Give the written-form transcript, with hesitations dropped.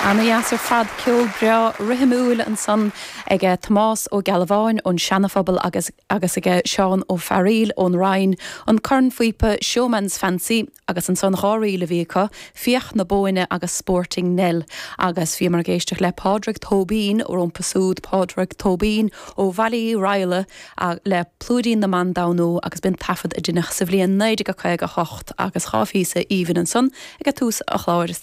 Ana-dheas ar fad, ceol breá rithimiúil ansan ag Tomás Ó Gealbháin ón Seana-Phobal agus agus ag Seán Ó Fearaíl ón Rinn, an cornphíopa Showman's Fancy agus ansan dha ríl a bhí acu, Fiach na Bóinne agus Sporting Nell. Agus bhíomar ag éisteacht le Pádraig Tóibín rompu súd, Pádraig Tóibín ó Bhaile Uí Raghallaigh le Plúidín na mBan Damnú agus b'in taifead a deineadh sa bhliain 1958 agus dha phíosa aoibhinn ansan ag tús an chláir.